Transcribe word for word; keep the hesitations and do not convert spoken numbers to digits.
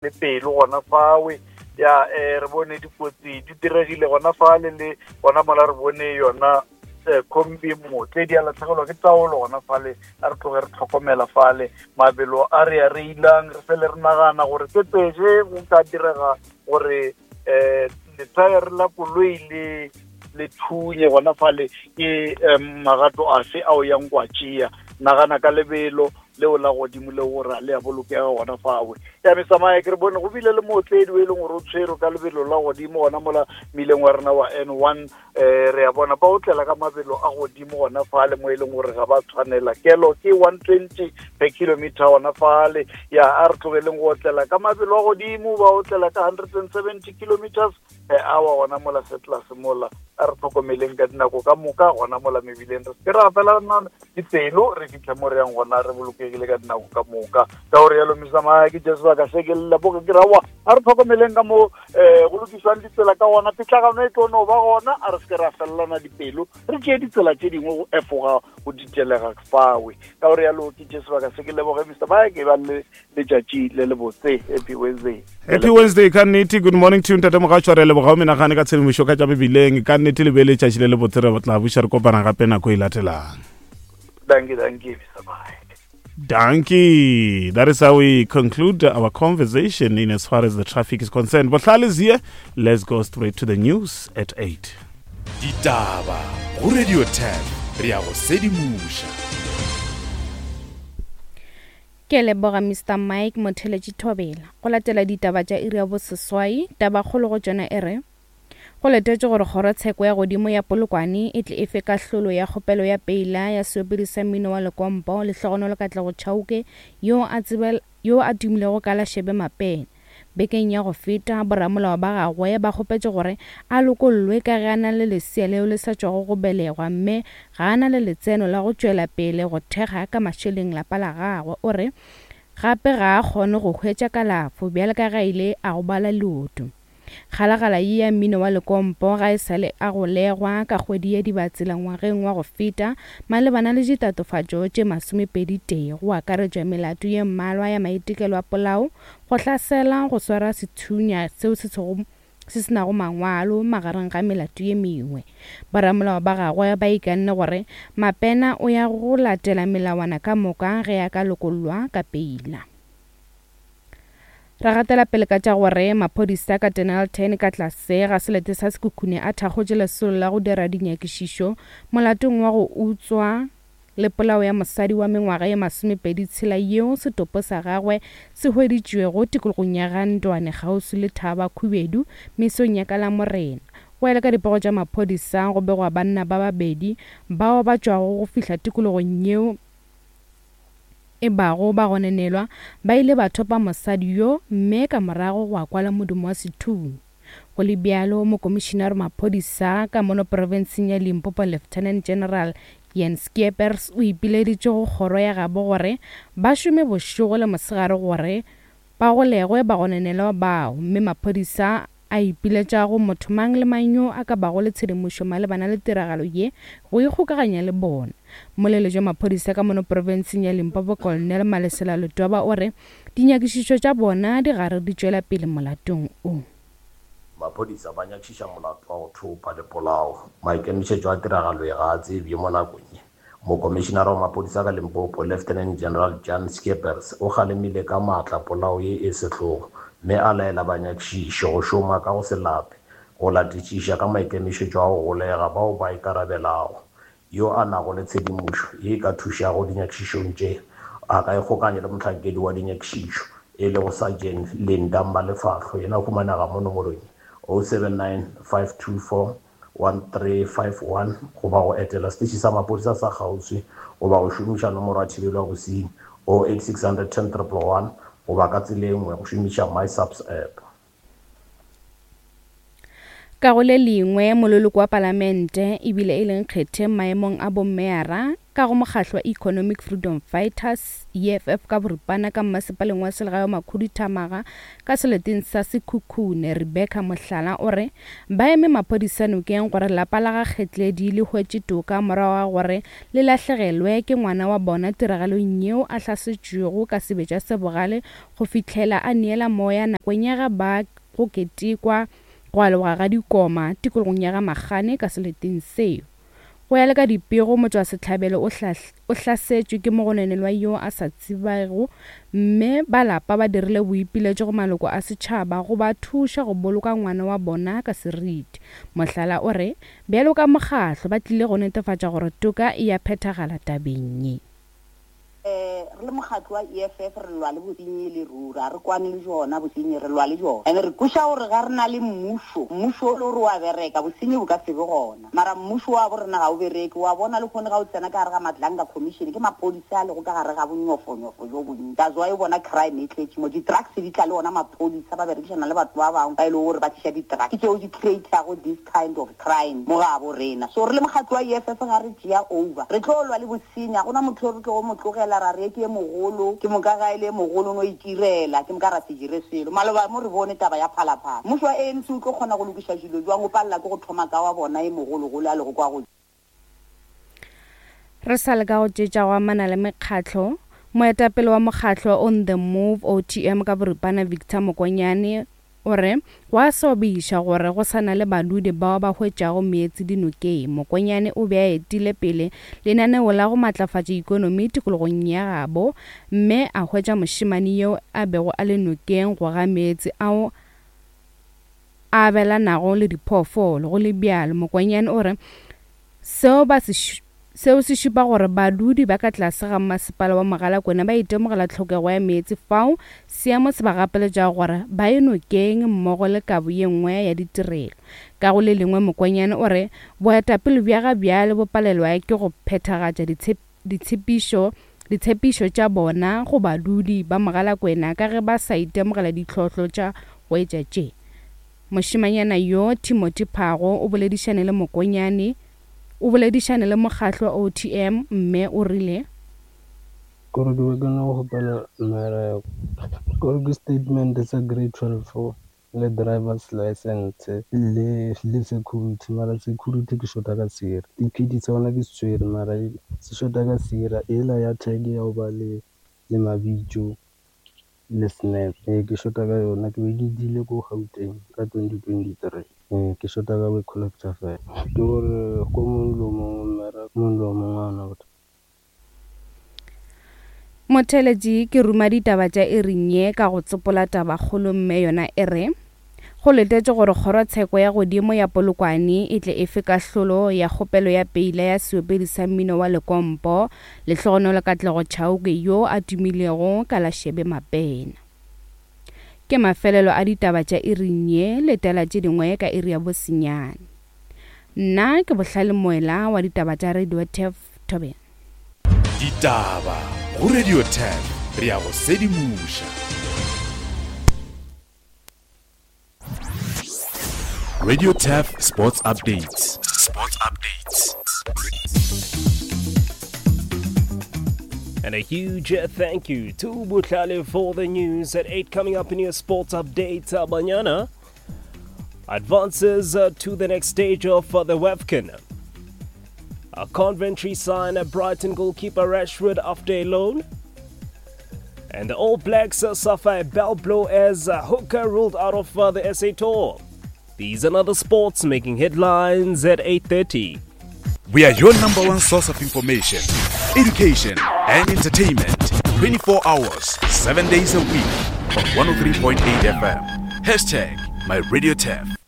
Le pelo gona fawe ya um re bone dikotsi di diregile gona fale le gona mola re bone yona um kombi motle di a latlhegelwa ke taolo gona fale. A re tloge re tlhokomela fale mabelo a re a reilang, re fele re nagana gore ke tseje go ka direga gore um lethaere la koloi le le thunye gona fale, ke um magato afe ao yang kwa tšea. Nagana ka lebelo leo la godimo le gore a le a bolokega gona fawe ya mesamaye. Ke re bone go bile le mootledi o e leng gore o tshwerwe ka lebelo la godimo gona mola mmileng wa rena wa N one. um re a bona ba otlela ka mabelo a godimo gona fale mo e leng gore ga ba tshwanela, kelo ke one twenty per kilometer gona fale. Ya a re tlogeleng go otlela ka mabelo a godimo, ba otlela ka hundred and seventy kilometers per hour gona mola Setlas mola. A re tlhokomeleng ka dinako ka moka gona mola mebileng, re se ra felana dipelo, re fitlhe mo re yang gona re bolokegile ka dinako ka moka. Ka gore yalo mesamaya ke je sebaka se ke leboge ke rawa, a re tlhokomeleng ka mo um go lokiswang ditsela ka gona, pitlagano e tlo no ba gona. A re se ke ra felelana dipelo, re tšee ditsela tše dingwe go efoga go ditelega fawe. Ka gore yalo ke tše sebaka se ke leboge Mister Mike, ba le letšatši le le botse. Happy Wednesday. Happy Wednesday ka nnete. Good morning to ntate Mogatšwa, re leboga o menagane ka tshedimošo ka tša mebileng. Ka nnete le be letšatši le le botse, re tla buša re kopana gape nako e latelang. Dankie, dankie, Mister Mike. Dankie. That is how we conclude our conversation in as far as the traffic is concerned. Bohlale is here. Let's go straight to the news at eight. Ditaba go Radio ten, re ya go sedimoša. Ke leboga Mister Mike Motheletši Thobela. Go latela ditaba tša iri ya boseswai, tabakgolo go tšona e re go letetše gore kgorotsheko ya godimo ya Polokwane e tle e fe kahlolo ya kgopelo ya peila ya seopedi sa mmino wa lekompo Lehlogonolo Katlego Chauke yo a tsebel yo a tumilego ka la Shebe Mapene. Bekeng ya go feta boramolao ba gagwe ba kgopetše gore a lokollwe ka ge a na le lesea leo le sa tšwago go belegwa mme ga a na le letseno la go tšwela pele go thekga ka mašeleng lapa la gagwe. O re gape ga a kgone go hwetša kalafo bjale ka ge a ile a gobala leoto. Kgalagala ye ya mmino wa lekompo ga e sale a golegwa ka kgwedi ya Dibatsela ngwageng wa go feta malebana le ditatofatšo tše masomepedi tee, go akaretšwa melato ye mmalwa ya maitekelo a polao, go hlasela, go swara sethunya seo se sego se se nago mangwalo magareng ga melato ye mengwe. Boramolao ba gagwe ba ikanne gore Mapena o ya go latela melawana ka moka ge a ka lokollwa ka peila. Re gatela pele ka tša gore maphodisa ka Dennilton ka tlase ga selete sa Sekhukhune a thakgotše lesolo la go dira dinyakišišo molatong wa go utswa le polao ya mosadi wa mengwaga ye masomepedi tshela yeo setopo sa gagwe se hweditšwego tikologong ya Gandwane kgauswi le Thaba Khubedu mesong ya ka Lamorena. Go ya le ka dipego tša maphodisa go begwa banna ba babedi bao ba tšwago go fihla tikologong yeo e bago ba gononelwa ba ile ba thopa mosadi yo mme ka morago go kwala modumo wa sethunya. Go le bjalo, mokomišinare maphodisa ka mono profenseng ya Limpopo Lieutenant General Jan Skeepers o ipileditše go kgoro ya gabo gore ba šome bošego le mosegare gore ba golegwe bagononelwa bao, mme maphodisa a ipiletša go motho mang le mang yo a ka bago le tshedimošo malebana le tiragalo ye go ikgokaganya le bona. Mmoleletši wa maphodisa ka mono profenseng ya Limpopo Colonel Malesela Letwaba o re dinyakišišo tša bona di gare di tšwela pele molatong o. Maphodisa ba nyakišiša molato wa go thopa le polao. Maikemišetšo a tiragalo ye ga a tsebje mo nakong ye. Mokomišinara wa maphodisa ka Limpopo Lieutenant General Jan Skeepers o kgalemile ka maatla polao ye e sehlogo mme a laela banyakišiši go šoma ka go se lape go latišiša ka maikemišetšo a go golega bao ba ikarabelago. Yo a nago le tshedimošo ye e ka thušago dinyakišišong tše a ka ikgokanya le mohlankedi wa dinyakišišo e lego Sergeant Linda Malefahlo, yena o humanega mo nomorong oh seven nine five two four one three five one goba go etela seteše sa maphodisa sa kgauswi goba go šomiša nomoro ya thibelo ya bosenyi oh eight six hundred ten triple one goba ka tsela e nngwe go šomiša MySAPS app. Ka go le lengwe, mololoko wa palamente ebile e leng kgetheng maemong a bommeara ka go mokgahlo wa Economic Freedom Fighters E F F ka boripana ka mmasepaleng wa selegae wa Makhuduthamaga ka seleteng sa Sekhukhune, Rebecca Mohlala o re ba eme maphodisa nokeng gore lapa la ga Kgetledi le hwetše toka morago ga gore le lahlegelwe ke ngwana wa bona tiragalong yeo a hlasetšwego ka sebetša se bogale go fihlela a neela moya nakong ya ga ba go ketekwa go aloga ga dikoma tikologong ya ga Magane ka seleteng seo. Go ya le ka dipego, motšwasehlabelo o o hlasetšwe ke mogononelwa yo a sa tsebego, mme ba lapa ba dirile boipiletšo go maloko a setšhaba go ba thuša go boloka ngwana wa bona ka seriti. Mohlala o re bjalo ka mokgahlo ba tlile go netefatša gore toka e ya phethagala tabeng ye. Eh, re le mokgatlo wa E F F re lwa le bosenyi le ruri, a re kwane le jona bosenyi, re lwa le jona. And re kweša gore ga re na le mmušo, mmušo o le gore wa bereka, bosenyi bo ka se be gona. Mara mmušo wa bo rena ga o bereke, wa bona le kgone ga o tsena ka gare ga Madlanga Commission, ke maphodisa a lego ka gare ga bonyofonyofo jo bontsi. That's why o bona crime e tletše mo, di-drugs di tla le ona maphodisa ba berekišana le batho ba bangwe ba e lego gore ba tliša di-drugs, ke tšeo di create-ago this kind of crime mo ga bo rena. So re le mokgatlo wa E F F ga re tšea over, re tlo lwa le bosenyi, ga gona motho o re tlo go mo tlogela ra re ke e mogolo, ke moka ga e le e mogolo no itirela, ke moka ra se dire selo. Maloba mo re bone taba ya Phalaphala, mmušo wa A N C o tlo kgona go lokiša dilo jwang, o palela ke go thoma ka wa bona e mogologolo a lego kwa go. Re sa le ka go tšetša go amana le mekgatlo, moetapele wa mokgatlo On The Move O T M ka boripana Victor Mokonyane o re go a sobiša gore go sa na le badudi bao ba hwetšago meetse dinokeng. Mokonyane o be a etile pele lenaneo la go matlafatša ikonomi tikologong ya gabo, mme a hwetša mošemane yo a bego a le nokeng go ga meetse ao a abelanago le diphoofolo. Go le bjalo, Mokonyane o re seo ba se seo se šupa gore badudi ba ka tlase ga masepala wa Mogalakwena ba itemogela tlhokego ya meetse fao seemo se ba gapeletšago gore ba ye nokeng mmogo le kabo ye nngwe ya ditirelo. Ka go le lengwe, Mokonyane o re boetapele bja ga bjale bo palelwa ke go phethagatša ditshepišo ditshepišo tša bona go badudi ba Mogalakwena ka ge ba sa itemogela ditlhohlo tša go etša tše. Mošemanyana yo Timothy Phago o boledišane le Mokonyane o boledišane le mokgatlo wa O T M mme o rile gore ke be ke no kgopela mmereko, gore ke statement sa grade twelve le driver's license le le security, mara security ke shota ka sera, ticket sa yona ke se tshwere mara se shota ka sera ela ya tag ya go ba le le mabitso le snap, ee ke shota ka yona, ke be ke dile ko Gauteng ka twenty twenty-three. Ee ke shota ka go collector fela, ke gore ko mongwe le o mongwe mmereko mongwe le o mongwe a ona bothata. Motheletši ke ruma ditaba tša iring ye ka go tsopola tabakgolo mme yona e re go letetše gore kgorotsheko ya godimo ya Polokwane e tle e fe kahlolo ya kgopelo ya peila ya seopedi sa mmino wa Lekompo Lehlogonolo Katlego Chauke yo a tumilego ka la Shebe Mapena. Ke mafelelo a ditaba tša iring ye, letela tše dingwe ka iri ya bosenyane. Nna ke Bohlale Moela wa ditaba tša Radio T E F Thobela. Ditaba go Radio T E F, re ya go sedimoša. Radio T E F Sports Updates. Sports Updates. And a huge thank you to Bohlale for the news at eight. Coming up in your sports update, Banyana advances to the next stage of the WAFCON. A Coventry sign a Brighton goalkeeper Rashford after a loan. And the All Blacks suffer a bell blow as Hooker ruled out of the S A Tour. These and other sports making headlines at eight thirty. We are your number one source of information, education, and entertainment. twenty-four hours, seven days a week on one oh three point eight F M. Hashtag My Radio T E F.